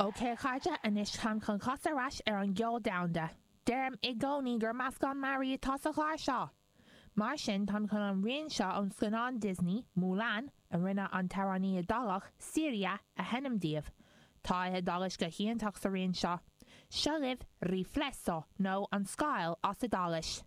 Ok a chairde, anois táim chun casadh ar ais ar an gceol domhanda. Deirim i gcónaí gur meascán mearaí atá sa chlár seo! Mar sin táim chun an rian seo ón scannán Disney, Mulan, a rinne an t-amhránaí Iodálach, Siria, a sheinm daoibh. Tá a hIodáilis go hiontach sa rian seo. Seo libh Riflesso, nó An Scáil as Iodáilis.